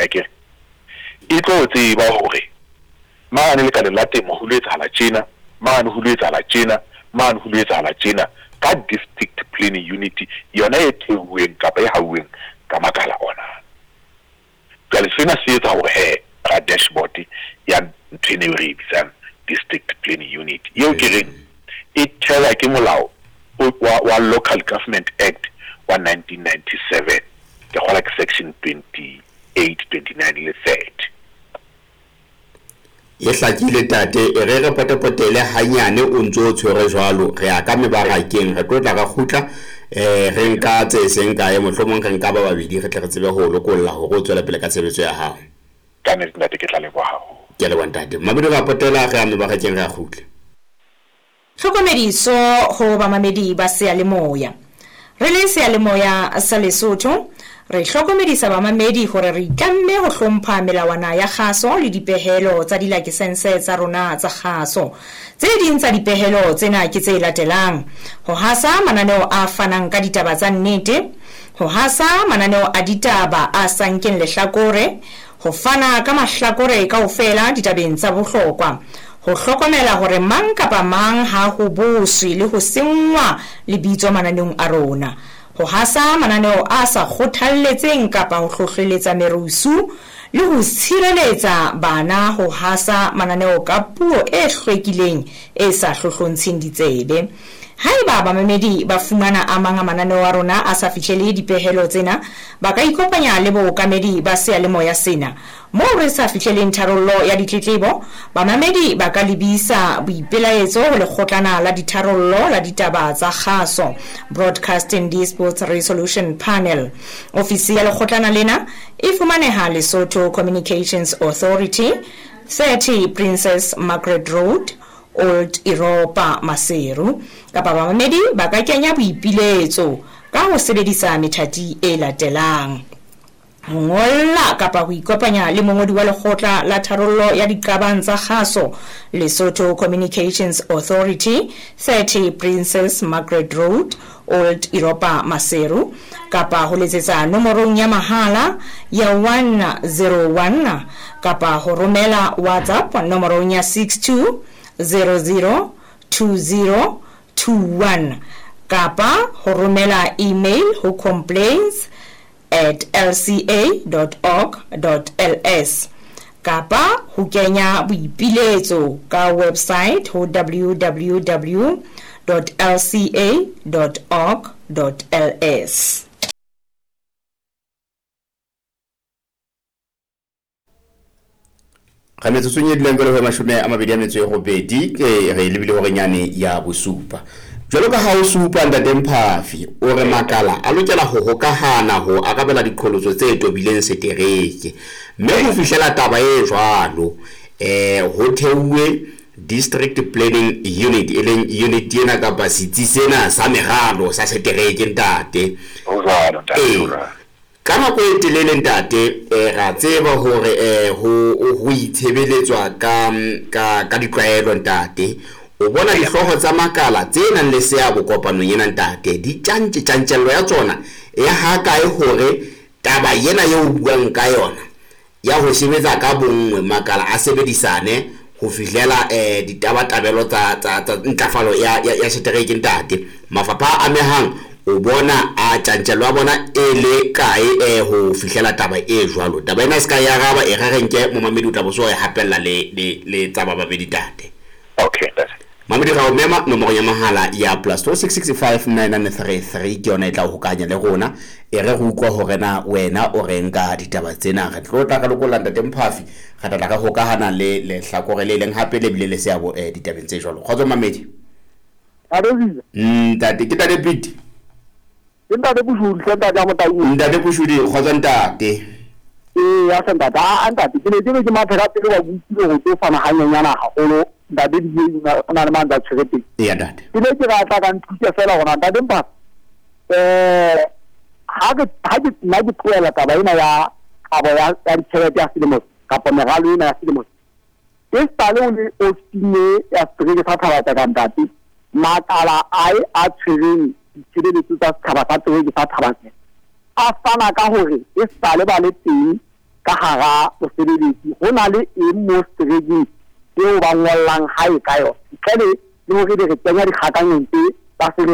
Akere e tlo tseba hore mane lekaleng la temo ho lo etsahala tjena, mane ho lo etsahala tjena, mane ho lo etsahala tjena ka District Planning Unit yona e theuweng kapa e hauweng ka makala ona. Jwale sena se etsa hore he ra dashboard ya ntho ena eo re e bitsang District Planning Unit eo ke reng e thewa ke molao wa Local Government Act wa 1997, ke kgolwa ke section 28, 29 le 30. E hlakile ntate, e re re potepotele hanyane o ntso o tshwere jwalo, re ya ka mebarakeng, re tlo tla ra kgutla re nka tse seng kae, mohlomong re nka ba babedi re tle re tsebe ho o lokolla hore o tswele pele ka tshebetso ya hao. Ka nnete ntate ke tla leboha haholo. Ke a leboha ntate. Mmamedi re a potela, re ya mebarakeng re a kgutla. Tlhokomediso ho bamamedi ba seyalemoya. Re le Seyalemoya sa Lesotho, re hlokomedisa bamamedi hore re itlamme ho hlompha melawana ya kgaso le dipehelo tsa dilakesense tsa rona tsa kgaso. Tse ding tsa dipehelo tsena ke tse latelang, Ho hasa mananeo a fanang ka ditaba tsa nnete, ho hasa mananeo a ditaba a sa nkeng lehlakore, ho fana ka mahlakore kaofela ditabeng tsa bohlokwa, ho hlokomela hore mang kapa mang ha hoboswe le ho senngwa lebitso mananeong a rona, ho hasa mananeo a sa kgothalletseng kapa ho hlohleletsa merusu le ho tshireletsa bana ho hasa mananeo ka puo e hlwekileng e sa hlohlontsheng ditsebe. Haeba bamamedi ba fumana a mang a mananeo a rona a sa fihlele dipehelo tsena, ba ka ikopanya le bookamedi ba seyalemoya sena. Moo re sa fihleleng tharollo ya ditletlebo, bamamedi ba ka lebisa boipelaetso ho Lekgotlana la Ditharollo la Ditaba tsa Kgaso, Broadcasting Disputes Resolution Panel. Ofisi ya lekgotlana lena e fumaneha Lesotho Communications Authority, 30 Princess Margaret Road, Old Europa, Maseru. Kapa bamamedi ba ka kenya boipiletso ka ho sebedisa methati e latelang. Ho ngolla kapa ho ikopanya le mongodi wa Lekgotla la Tharollo ya Diqabang tsa Kgaso, Lesotho Communications Authority, 30 Princess Margaret Road, Old Europa, Maseru, kapa ho letsetsa nomorong ya mahala ya 101 kapa ho romela WhatsApp nomorong ya 62002021 kapa ho romela email ho complaints at lca dot org dot ls kapa ho kenya boipiletso ka website ho www dot lca dot org dot ls. Ga metsotsong e dulang jalo go 28 ke re lebile gorenyane ya bosupa. Jwalo ka ha o supa Ntate Mphafi, o re makala a lokela ho hokahana ho arabela diqholotso tse tobileng setereke. Mme ho fihlela taba e jwalo, ho theuwe District Planning Unit, e leng unit ena kapa setsi sena sa meralo sa setereke, ntate. Ho jwalo, ntate, ho jwalo. Ka nako e telele, ntate, ra tseba hore ho ho itshebeletswa ka ka ka ditlwaelo, ntate. O bona dihlooho tsa makala tse nang le seabo kopanong ena, ntate, di tjantje, tjantjello ya tsona e hakae hore taba ena eo o buang ka yona ya ho sebetsa ka bonngwe, makala a sebedisane ho fihlela ditabatabelo tsa, tsa, tsa ntlafalo ya, ya, ya setereke, ntate. Mafapha a amehang o bona a tjantjello ya bona e le kae ho fihlela taba e jwalo? Taba ena e se ka e araba, e re re nke momamedi o tla bo so e hapella le, le, le tsa ba babedi, ntate. Okay, ntate. Mamedi ra o mema nomoro ya mahala ya plus 26659933 ke yona e tla o hokahanya le rona. E re re utlwa hore na wena o reng ka ditaba tsena. Re tlo tla re lokolla Ntate Mphafi, re tla tla re hokahana le lehlakore le leng hape le bile le seabo ditabeng tse jwalo. Kgotso Mamedi. Ntate Ziza. Ntate, ke Ntate Pete. Ke Ntate Kushudi, hle Ntate ya Motaung. Ntate Kushudi, kgotso Ntate. Ee, ya hle Ntate. A Ntate, ke ne ke re ke mathe ka pele wa utlwile ho tlo fana hanyenyana haholo. Ntate DJ o na le mantswe a tshwere teng. Eya Ntate. Ke ne ke batla ka nthuse fela hore Ntate Mphafi, ha ke, ha ke, nna ke tlohela taba ena ya kabo ya, ya ditjhelete ya selemo kapa meralo ena ya selemo. E sale o le ofising e ya setereke sa Thaba-Tseka Ntate, makala ae a tshwereng ditshebeletso tsa setjhaba sa tereke sa Thaba-Tseka a fana ka hore e sale ba le teng Ka hara bosebeletsi ho na le eng mo seterekeng eo ba ngollang hae ka yona ntle le hore ebe re kenya dikgakanyong tse ba se.